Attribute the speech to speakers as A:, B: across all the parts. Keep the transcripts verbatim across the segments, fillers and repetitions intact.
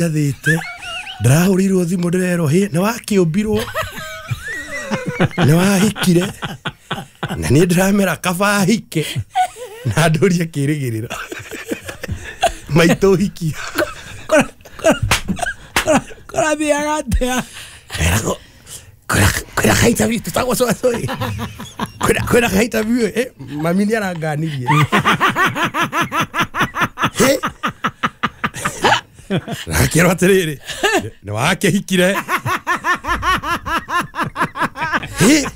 A: Njathĩte ndĩrahũrĩirwo thimũ ndĩrerwo hĩ nĩ wakĩũmbirwo nĩ wahikire na niĩ ndĩramera kaba hike na ndũrie kĩrĩgĩrĩro maitũ hikia
B: kũrathiaga atĩa
A: eragwo kwĩna ka interview tũtagwo cũcũ kwĩna kwĩna ka interview eh mami nĩ aranganirie hĩ nakĩrwo atĩrĩrĩ nĩ wakĩhikire hĩ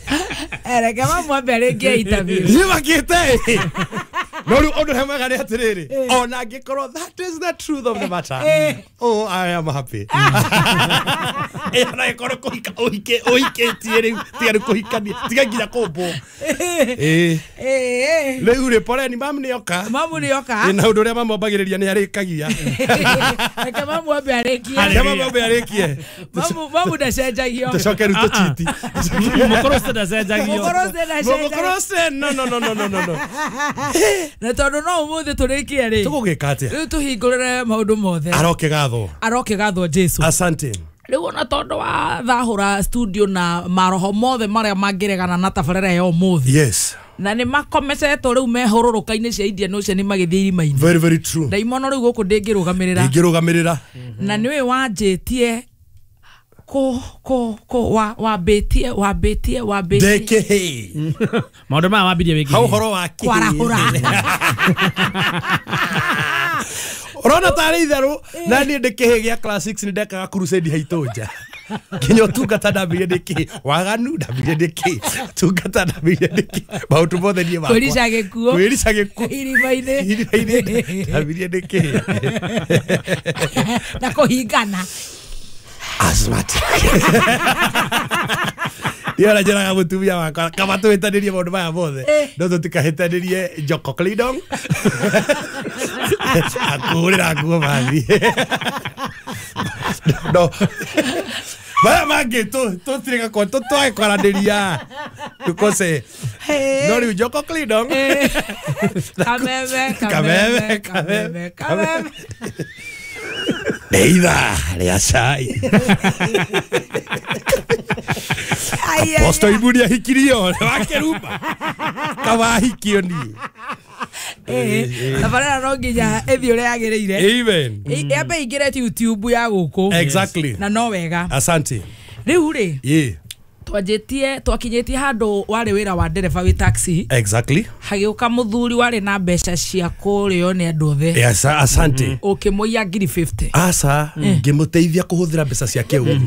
B: reke mamu ambe arĩkie interview
A: niĩ makĩte no rĩu ũndũ ũrĩa mwega nĩ atĩrĩrĩ ona angĩkorwo that is the truth of the matter oh I am happy eh ona ĩkorwo kũhika ũhike ũhikĩtie rĩu tiga rĩu kũhikania tiga nginya kũmbwo eh rĩu rĩ poleni mamu nĩoka
B: mamu nĩoka
A: na ũndũ ũrĩa mamu ambagĩrĩria nĩ arĩkagia
B: reke mamu ambe arĩkie
A: reke mamu ambe arĩkie
B: mamu mamu ndacenjagio
A: tũcoke rĩu tũchiti
C: mũkũrũce ndacenjagio
B: mũkũrũce ndacenjagio
A: mũkũrũce no no no no no no
B: na tondũ no ũmũthĩ tũrĩkie rĩ
A: tũgũgĩka atĩa
B: rĩu tũhingũrĩre maũndũ mothe
A: arokĩgathwo
B: arokĩgathwo Jesu
A: asante
B: rĩu ona tondũ wa thahũra studio na maroho mothe marĩa mangĩregana na tabarĩra ya ũmũthĩ
A: yes
B: na nĩ makomecetwo rĩu mehũrũrũka-inĩ cia Indian Ocean magĩthiĩ irima-inĩ
A: very very true
B: ndaimono rĩu gũkũ ndĩngĩrũgamĩrĩra
A: ndĩngĩrũgamĩrĩra
B: na nĩwe wanjĩtie ko ko ko wa wambĩtie wambĩtie wambĩtie
A: ndĩkĩhĩ
C: maũndũ maya wambirie wĩkĩ
A: hau ũhoro wa kĩhĩ
B: kwarahũra
A: ũrona tarĩ itherũ na niĩ ndĩ kĩhĩ gĩa class six nĩ ndekaga crusade haitũ nja nginya ũtungata ndambirie ndĩ kĩhĩ waganu ndambirie ndĩ kĩhĩ ũtungata ndambirie ndĩ kĩhĩ maũndũ mothe niĩ makwa
B: kwĩrica gĩkuũ
A: kwĩrica gĩkuũ
B: irima-inĩ
A: irima-inĩ ndambirie ndĩ kĩhĩ
B: na kũhingana
A: asthmatic niĩ ona njĩraga mũtumia wakwa kaba tũhĩtanĩrie maũndũ maya mothe no tũtikahĩtanĩrie Joko Clydon akũhũrĩra nguo mathi no maya mangĩ tũtirĩ twage kwaranĩria tũkose no rĩu Joko Clydon
B: kameme kameme kameme kameme
A: nĩ ithaa rĩa cai Apostle Ibu nĩahikirio wakĩrumba kaba ahikio niĩ
B: tabarĩra no nginya ĩthiĩ ũrĩa yagĩrĩire
A: amen
B: yambe ĩingĩre YouTube ya gũkũ
A: exactly
B: na no wega
A: asante
B: rĩu rĩ
A: ĩ
B: twanjĩtie twakinyĩtie handũ warĩ wĩra wa ndereba wĩ taxi
A: exactly
B: hagĩũka mũthuri warĩ na mbeca cia kũrĩo nĩ andũ othe
A: yes asante
B: ũkĩmũiya ngiri fifty
A: asa ngĩmũteithia kũhũthĩra mbeca ciake ũru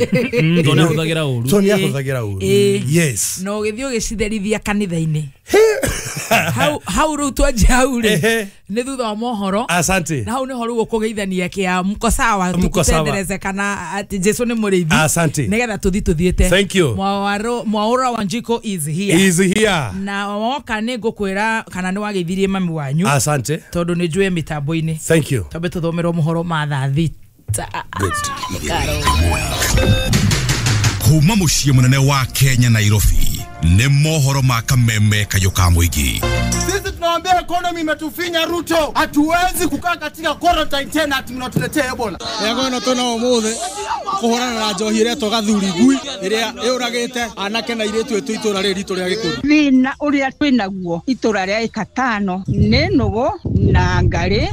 C: tondũ nĩ ahũthagĩra ũru
A: tondũ nĩ ahũthagĩra ũru yes
B: na ũgĩthiĩ ũgĩcitherithia kanitha-inĩ hau hau rĩu twanjia hau rĩ nĩ thutha wa mohoro
A: asante
B: na hau nĩho rĩu ũkũgeithania kĩa mko sawa tũkũtendereze kana atĩ Jesu nĩ mũrĩithi
A: asante
B: nĩgetha tũthi tũthiĩte
A: thank you
B: Mwauro Mwaura Wanjiko is here
A: is here
B: na woka nĩ ngũkwĩra kana nĩ wageithirie mami wanyu
A: asante
B: tondũ nĩ njũĩ mĩtambo-inĩ
A: thank you
B: twambe tũthomerwo mohoro ma thaa thita
A: good
D: kuma mũciĩ mũnene wa Kenya Nairobi nĩ mohoro ma kameme kayũ ka mũingĩ.
E: Sisi tunawaambia economy imetufinya Ruto, hatuwezi kukaa katika quarantine tena ati mnatuletea Ebola.
F: Yego no tuna umuthi kuhurana na njohi iretwo gathuri ngui iria yuragite anake na iritu itu itura riri ritu ria gikundi.
G: Thina uria twinaguo itura ria ikatano ni nugu na ngari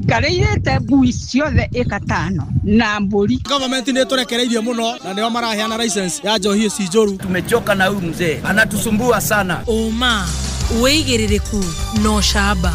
G: ngari irete ngui ciothe ikatano na mburi.
F: Government ni turekereirie muno na nio maraheana license ya njohi ici njuru.
H: Tumechoka na huyu mzee, anatusumbua sana.
B: Uma wĩigĩrĩrĩku no ũcamba.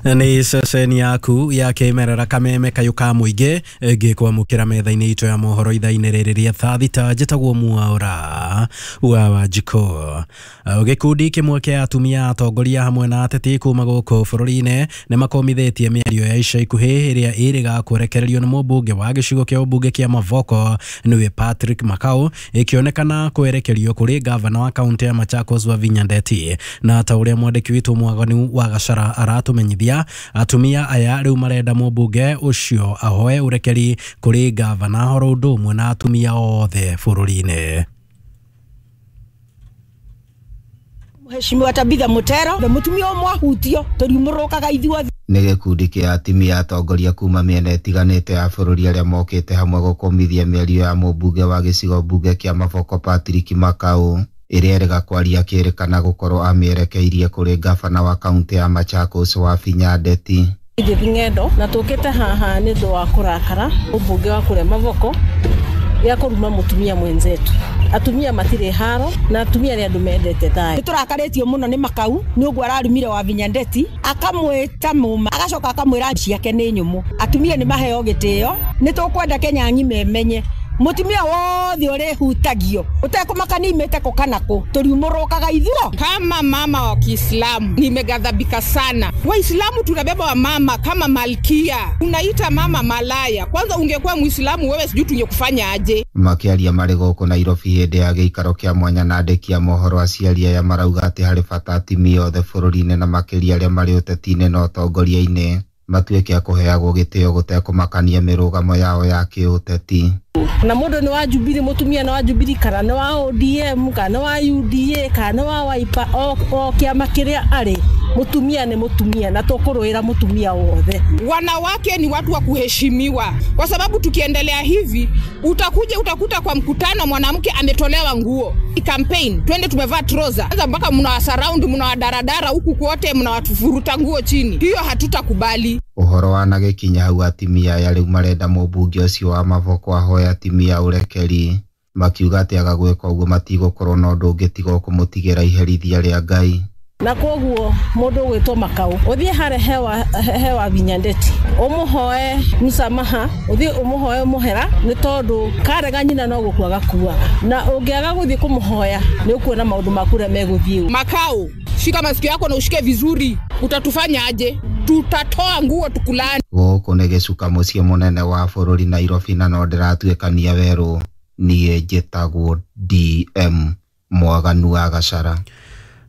I: Nĩ ceceni yaku ya kĩmerera kameme kayũ ka mũingĩ ngĩkwamũkĩra metha-inĩ itũ ya mohoro ithaa-inĩ rĩrĩ rĩa thaa thita. Njĩtagwo Mwaura wa Wanjikũ. Gĩkundi kĩmwe kĩa atumia atongoria hamwe na ateti kuma gũkũ bũrũri-inĩ nĩ makomithĩtie mĩario ya ica ikuhĩ ĩrĩa ĩrĩga kũrekererio nĩ mũmbunge wa gĩcigo kĩa ũmbunge kĩa Mavoko nĩwe Patrick Makau, ĩkĩonekana kwerekerio kũrĩ gavana wa kaunti ya Machakos Wavinya Ndeti. Na ta ũrĩa mwandĩki witũ Mwaganu wa Gachara aratũmenyithia, atumia aya rĩu marenda mũmbunge ũcio ahoe ũrekeri kũrĩ gavana horo ũndũ ũmwe na atumia othe bũrũri-inĩ.
J: Mheshimiwa Tabitha Mutero, mutumia ũmwe ahutio tũriumũrũkaga ithuothe. Nĩ gĩkundi kĩa atimia atongoria kuma mĩena ĩtiganĩte ya bũrũri arĩa mokĩte hamwe gũkũmithia mĩario ya mũmbunge wa gĩcigo mbunge kĩa Mavoko Patrick Makau ĩrĩa ĩrega kwaria akĩrĩkana gũkorwo amĩerekeirie kũrĩ ngabana wa kaũntĩ ya Machakos Wavinya Ndeti.
K: Edith Ng'endo na tũkĩte haha nĩ ũndũ wa kũrakara mũmbunge wa kũrĩa Mavoko gĩa kũruma mũtumia mwenzetu. Atumia matirĩ haro na atumia nĩ andũ mendete thayũ.
L: Nĩ tũrakarĩtio mũno nĩ Makau nĩ ũguo ararumire Wavinya Ndeti akamwĩta mũma agacoka akamwĩra ciake nĩ nyũmũ. Atumia nĩ maheo gĩtĩo, nĩ tũkwenda Kenya ng'ima ĩmenye mutumia wothe ũrĩhutagio ũtekũmakania imĩte kũ kana kũ tũriumũrũkaga ithuo.
M: Kama mama wa Kiislamu nimeghadhabika sana. Waislamu tunabeba wamama kama malkia, unaita mama malaya. Kwanza ungekuwa Muislamu wewe sijui tungekufanya aje.
J: Makĩaria marĩ gũkũ Nairobi hĩndĩ ya gĩikaro kĩa mwanya na andĩki a mohoro, aciari aya marauga atĩ harĩ bata atimia othe bũrũri-inĩ na makĩria arĩa marĩ ũteti-inĩ na ũtongoria-inĩ matuĩke a kũheagwo gĩtĩo gũtekũmakania mĩrũgamo yao ya kĩũteti.
K: Na mũndũ nĩ wa Jubilee, mũtumia nĩ wa Jubilee kana nĩ wa O D M kana nĩ wa U D A kana nĩ wa Wiper, o, o kĩama kĩrĩa arĩ, mũtumia nĩ mũtumia na tũkũrũĩra mũtumia wothe.
M: Wanawake ni watu wa kuheshimiwa, kwa sababu tukiendelea hivi utakuja utakuta kwa mkutano mwanamke ametolewa nguo. Campaign twende tumevaa trouser, sasa mpaka mnawasurround mnawadaradara huku kote mnawatufuruta nguo chini, hiyo hatutakubali.
J: Ũhoro wanagĩkinya hau atimia aya rĩu marenda mũmbunge ũcio wa Mavoko ahoe atimia ũrekeri, makiuga atĩ aga gwĩka ũguo matigũkorwo na ũndũ ũngĩ tiga o kũmũtigĩra iherithia rĩa Ngai.
K: Na koguo mũndũ ũgwĩtwo Makau ũthiĩ harĩa hewa hewa Wavinya Ndeti ũmũhoe msamaha, ũthiĩ ũmũhoe mũhera nĩ tondũ karega nyina no gũkua gakuaga, na ũngĩaga gũthiĩ kũmũhoya nĩ ũkuona maũndũ maku ũrĩa megũthiĩ.
M: Makau, shika masikio yako na ushike vizuri, utatufanya aje? Tutatoa nguo tukulani.
J: Gũkũ nĩ gĩcuka mũciĩ mũnene wa bũrũri Nairobi, na no ndĩratuĩkania werũ. Niĩ njĩtagwo D M Mwaganu wa Gachara.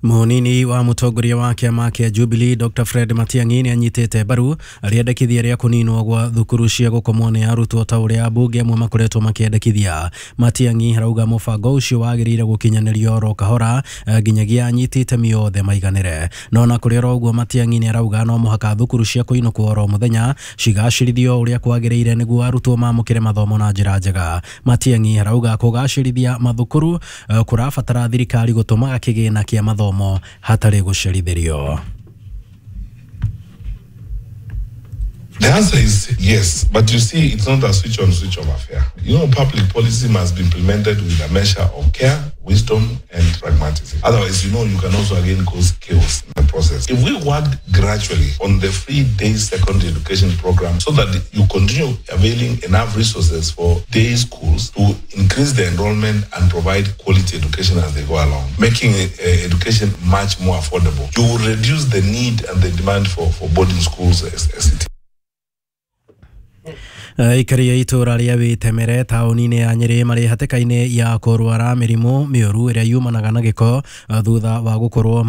I: Mũnini wa mũtongoria wa kĩama kĩa Jubilee Doctor Fred Matiang'i nĩ anyitĩte mbaru rĩendekithia rĩa kũninwo gwa thukuru cia gũkomwo nĩ arutwo ta ũrĩa ambunge amwe makoretwo makĩendekithia. Matiang'i arauga mũbango ũcio wagĩrĩire gũkinyanĩrio oro kahora nginyagia anyiti itemi othe maiganĩre. No na kũrĩ oro ũguo Matiang'i nĩ arauga no mũhaka thukuru cia kũinũkwo oro mũthenya cigacĩrithio ũrĩa kwagĩrĩire nĩguo arutwo mamũkĩre mathomo na njĩra njega. Matiang'i arauga kũgacĩrithia mathukuru kũrabatara thirikari gũtũmaga kĩgĩna kĩa mathomo hatarĩ gũcerithĩrio.
N: The answer is yes, but you see, it's not a switch on, switch off affair. You know, public policy must be implemented with a measure of care, wisdom, and pragmatism. Otherwise, you know, you can also again cause chaos in the process. If we worked gradually on the free day secondary education program so that you continue availing enough resources for day schools to increase the enrollment and provide quality education as they go along, making uh, education much more affordable, you will reduce the need and the demand for, for boarding schools as, as it is.
I: Aikari a itũra rĩa Wĩtemere taũni-inĩ ya Nyĩrĩ marĩ hatĩka-inĩ ya kũrwara mĩrimũ mĩũru ĩrĩa yumanaga na gĩko thutha wa gũkorwo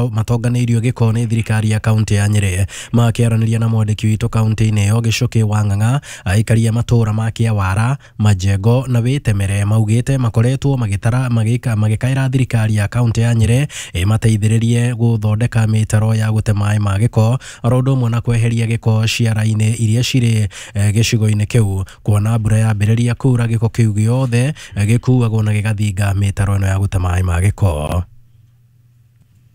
I: matonganĩirio gĩko nĩ thirikari ya kaũntĩ ya Nyĩrĩ. Makĩaranĩria na mwandĩki witũ kaũntĩ-inĩ ĩyo Gĩcũkĩ wa Ng'ang'a, aikari a matũra ma Kĩawara, Majengo na Wĩtemere maugĩte makoretwo magĩtara magĩka magĩkaĩra thirikari ya kaũntĩ ya Nyĩrĩ ĩmateithĩrĩrie gũthondeka mĩtaro ya gũte maĩ ma gĩko oro ũndũ ũmwe na kweheria gĩko ciara-inĩ iria cirĩ gĩcigo-inĩ kĩu, kuona mbura yambĩrĩria kura gĩko kĩu gĩothe gĩkuagwo na gĩgathinga mĩtaro ĩno ya gũte maĩ ma gĩko.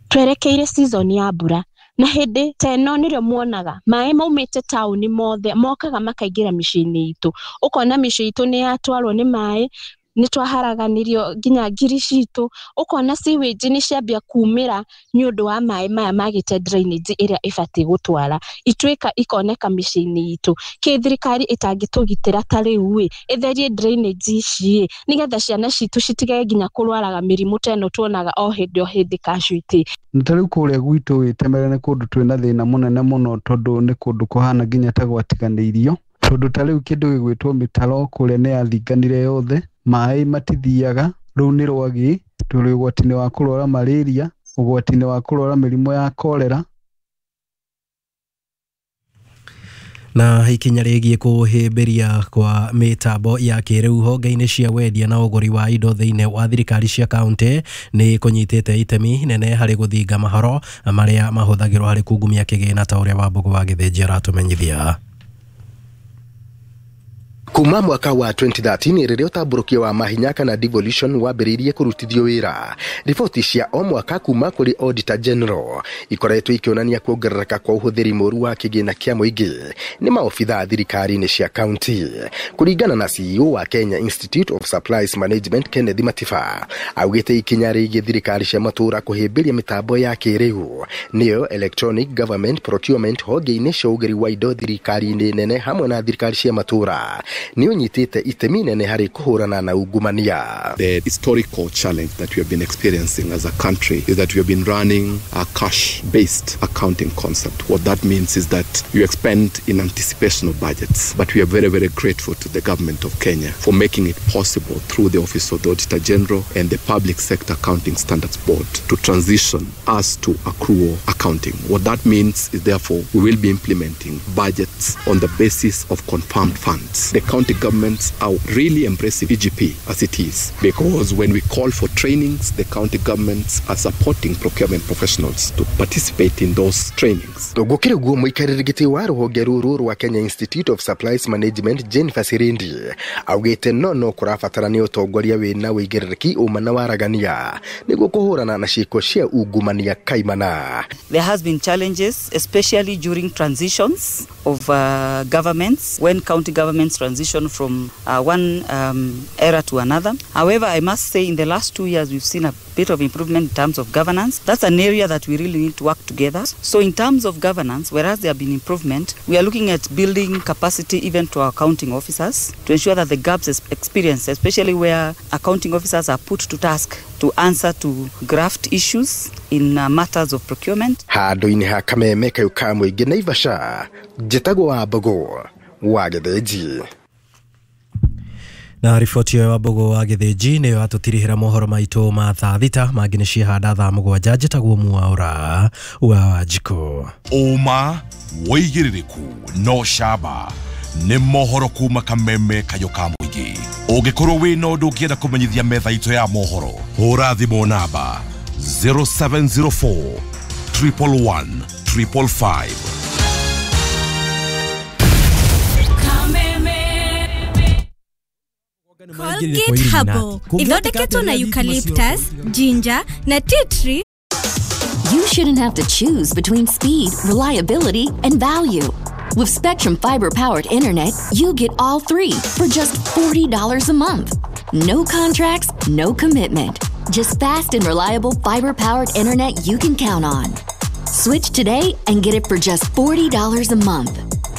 O: Twerekeire season ya mbura na hĩndĩ ta ĩno nĩrĩo muonaga maĩ maumĩte taũni mothe mokaga makaingĩra mĩciĩ-inĩ itũ, ũkona mĩciĩ itũ nĩ yatwarwo nĩ maĩ, nĩ twaharaganirio nginya ngiri citũ, ũkona sewage nĩ ciambia kumĩra nĩ ũndũ wa maĩ maya magĩte drainage ĩrĩa ĩbatiĩ gũtwara ituĩka ikoneka mĩciĩ-inĩ itũ. Kĩ thirikari ĩtangĩtũgitĩra ta rĩu ĩ ĩtherie drainage ici ĩ nĩgetha ciana citũ citigage nginya kũrwaraga mĩrimũ ta ĩno tuonaga o hĩndĩ o hĩndĩ casualty.
P: Na ta rĩu kũrĩa gwitũ Wĩtemere nĩ kũndũ twĩna thĩna mũnene mũno tondũ nĩ kũndũ kũhana nginya ta gwatiganĩirio, tondũ ta rĩu kĩndũ gĩgwĩtwo mĩtaro kũrĩa nĩ yathinganire yothe, maĩ matithiaga, rũu nĩ rwagĩ, tũrĩ ũgwati-inĩ wa kũrwara malaria, ũgwati-inĩ wa kũrwara mĩrimũ ya cholera.
I: Na ikinya rĩgiĩ kũhĩmbĩria kwa mĩtambo ya kĩrĩu honge-inĩ cia wendia na ũgũri wa indo thĩinĩ wa thirikari cia kaunti nĩ kũnyitĩte itemi nene harĩ gũthinga mahoro marĩa mahũthagĩrwo harĩ kungumia kĩgĩna ta ũrĩa Wambũgũ wa Gĩthĩnji aratũmenyithia.
Q: Kuma mwaka wa twenty thirteen rĩrĩa ũtambũrũkia wa mahinya kana devolution wambĩrĩirie kũrutithio wĩra, riboti cia o mwaka kuma kũrĩ Auditor General ikoretwo ikĩonania kuongerereka kwa ũhũthĩri mũru wa kĩgĩna kĩa mũingĩ nĩ maobitha thirikari-inĩ cia kaunti. Kũringana na C E O wa Kenya Institute of Supplies Management Kenneth Matiba, augĩte ikinya rĩgiĩ thirikari cia matũũra kũhĩmbĩria mĩtambo ya kĩrĩu nĩyo electronic government procurement honge-inĩ cia ũgĩri wa indo thirikari-inĩ nene hamwe na thirikari cia matũũra nĩ ũnyitĩte itemi nene harĩ kũhũrana na ungumania.
R: The historical challenge that we have been experiencing as a country is that we have been running a cash-based accounting concept. What that means is that you expend in anticipation of budgets, but we are very, very grateful to the government of Kenya for making it possible through the Office of the Auditor General and the Public Sector Accounting Standards Board to transition us to accrual accounting. What that means is therefore we will be implementing budgets on the basis of confirmed funds. The county governments are really embracing E G P as it is, because when we call for trainings, the county governments are supporting procurement professionals to participate in those trainings.
Q: Gũkĩrĩ ũguo mũikarĩri gĩtĩ wa rũhonge rũrũ rwa Kenya Institute of Supplies Management Jennifer Sirindi augĩte no no kũrabatarania ũtongoria wĩna ũigĩrĩrĩki ũma na waragania nĩguo kũhũrana na ciĩko cia ungumania kaimana.
S: There has been challenges, especially during transitions of uh, governments, when county governments transition from uh, one um, era to another. However, I must say in the last two years we've seen a bit of improvement in terms of governance. That's an area that we really need to work together. So in terms of governance, whereas there have been improvement, we are looking at building capacity even to our accounting officers to ensure that the gaps experienced, especially where accounting officers are put to task to answer to graft issues in uh, matters of procurement.
Q: Handũ-inĩ ha Kameme kayũ ka mũingĩ Naivasha, njĩtagwo Wambũgũ wa Gĩthĩnji.
I: Na riboti ĩyo ya Wambũgũ wa Gĩthĩnji nĩyo yatũtirihĩra mohoro maitũ ma thaa thita, mangĩ nĩ ciehanda thaa mũgwanja. Njĩtagwo Mwaũra wa Wanjikũ.
D: Ũma wĩigĩrĩrĩku no camba nĩ mohoro kuma Kameme kayũ ka mũingĩ. Ũngĩkorwo wĩna ũndũ ũngĩenda kũmenyithia metha itũ ya mohoro, hũra thimũ namba zero seven zero four triple one triple five.
T: Colgate Herbal ithondeketwo na eucalyptus, ginger na tea tree.
U: You shouldn't have to choose between speed, reliability, and value. With Spectrum fiber-powered internet, you get all three for just forty dollars a month. No contracts, no commitment. Just fast and reliable fiber-powered internet you can count on. Switch today and get it for just forty dollars a month.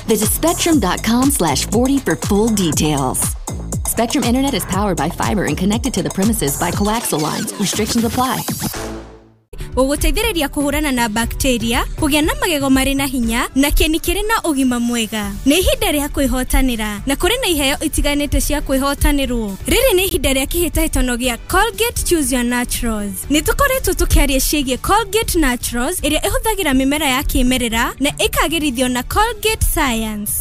U: Visit spectrum dot com slash forty for full details. Spectrum Internet is powered by fiber and connected to the premises by coaxial lines. Restrictions apply.
T: Gũgũteithĩrĩria kũhũrana na bacteria, kũgĩa na magego marĩ na hinya na kĩni kĩrĩ na ũgima mwega. Nĩ ihinda rĩa kwĩhotanĩra na kũrĩ na iheo itiganĩte cia kwĩhotanĩrwo. Rĩrĩ nĩ ihinda rĩa kĩhĩtahĩtano gĩa Colgate Choose Your Naturals. Nĩ tũkoretwo tũkĩaria ciĩgiĩ Colgate Naturals ĩrĩa ĩhũthagĩra mĩmera ya kĩmerera na ĩkagĩrithio na Colgate Science.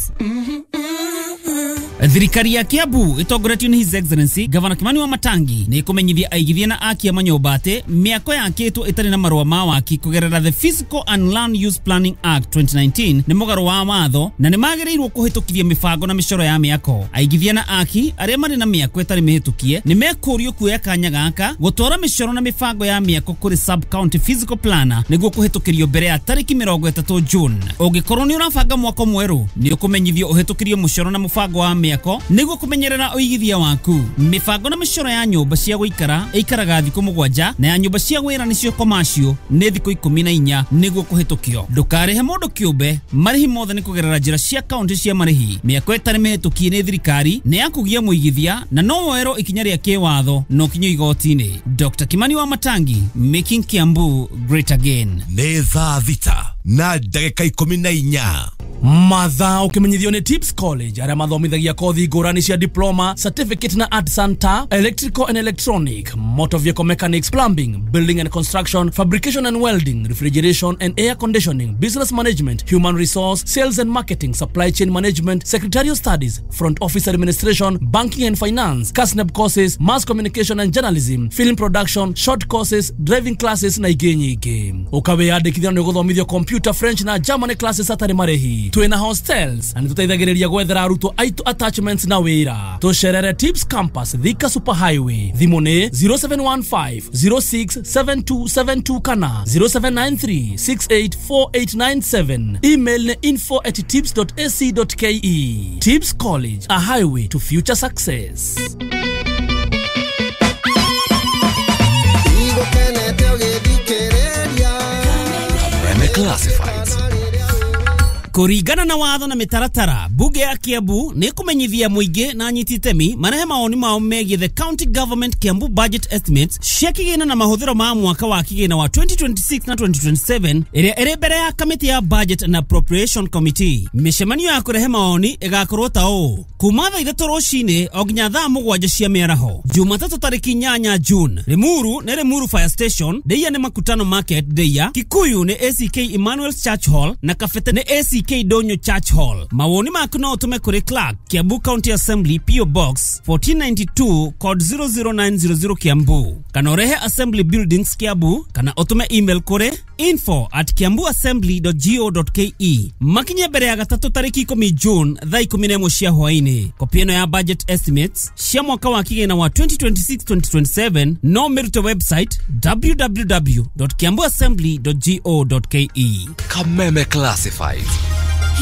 C: Thirikari ya Kiambu ĩtongoretio nĩ His Excellency Governor Kimani wa Matangi nĩ ĩkũmenyithia aigithia na aki a manyũmba atĩ mĩako yakĩtwo ĩtarĩ na marũa ma waki kũgerera the Physical and Land Use Planning Act twenty nineteen nĩ mũgarũ wa watho na nĩ magĩrĩirwo kũhĩtũkithia mĩbango na mĩcoro ya mĩako. Aigithia na aki arĩa marĩ na mĩako ĩtarĩ mĩhĩtũkie nĩ mekũrio kuoya kanya gaka gũtwara mĩcoro na mĩbango ya mĩako kũrĩ sub county physical planner nĩguo kũhĩtũkĩrio mbere ya tarĩki mĩrongo ĩtatũ June. Ũngĩkorwo nĩ ũrabanga mwako mwerũ nĩ ũkũmenyithio ũhĩtũkĩrio mũcoro na mũbango wa mĩako nĩguo kũmenyerera ũigithia waku. Mĩbango na mĩcoro ya nyũmba cia gũikara ĩikaraga thikũ mũgwanja na ya nyũmba cia wĩra nĩcio commercial nĩ thikũ ikũmi na inya nĩguo kũhĩtũkio. Ndũkarĩhe mũndũ kĩũmbe, marĩhi mothe nĩ kũgerera njĩra cia kaunti cia marĩhi. Mĩako ĩtarĩ mĩhĩtũkie nĩ thirikari nĩ ya kũgia mũigithia na no woerwo ikinya rĩa kĩwatho no kinyo igoti-inĩ. Doctor Kimani wa Matangi, making Kiambu great again.
D: Nĩ thaa thita na ndagĩka ikũmi na inya.
A: Mathaa ũkĩmenyithio nĩ Tips College arĩa mathomithagia kothi ngũrani cia diploma, certificate na art center, electrical and electronic, motor vehicle mechanics, plumbing, building and construction, fabrication and welding, refrigeration and air conditioning, business management, human resource, sales and marketing, supply chain management, secretarial studies, front office administration, banking and finance, KASNEB courses, mass communication and journalism, film production, short courses, driving classes na ingĩ nyingĩ. Ũkawĩyandĩkithia na nĩũgũthomithio computer, French na German classes hatarĩ marĩhi. Twĩna hostels na nĩtũteithagĩrĩria gwethera arutwo aitũ attachments na wĩra. Tũcerere Tips Campus, Thika Super Highway. Thimũ nĩ zero seven one five zero six seven two seven two kana zero seven nine three six eight four eight nine seven. Email nĩ info at tips dot a c dot k e. Tips College, a highway to future success.
D: Kameme Classifieds.
C: Kũringana na watho na mĩtaratara, bunge ya Kiambu nĩ kũmenyithia mũingĩ na anyiti itemi marehe mawoni mao megiĩ the county government Kiambu budget estimates cia kĩgĩna na mahũthĩro ma mwaka wa kĩgĩna wa twenty twenty-six na twenty twenty-seven ĩrĩa ĩrĩ mbere ya kamĩtĩ ya Budget and Appropriation Committee. Mĩcemanio ya kũrehe mawoni ĩgakorwo ta ũũ: kuma thaa ithatũ rũcinĩ o nginya thaa mũgwanja cia mĩaraho, Jumatatũ tarĩki inyanya June. Limuru nĩ Limuru Fire Station, Ndeia nĩ Makutano Market Ndeia, Kikuyu nĩ A C K Emmanuel's Church Hall na Kabete nĩ A C K Donyo Church Hall. Mawoni maku no ũtũme kũrĩ Clerk, Kiambu County Assembly, P O Box fourteen ninety-two, code zero zero nine zero zero Kiambu, kana ũrehe Assembly Buildings Kiambu, kana ũtũme email kũrĩ info at kiambu assembly dot go dot k e. Makinye mbere ya gatatũ tarĩki ikũmi June thaa ikũmi na ĩmwe cia hwaĩ-inĩ. Kopi ĩno ya budget estimates cia mwaka wa kĩgĩna wa twenty twenty-six twenty twenty-seven no mĩrute website w w w dot kiambu assembly dot go dot k e.
D: Kameme Classifieds.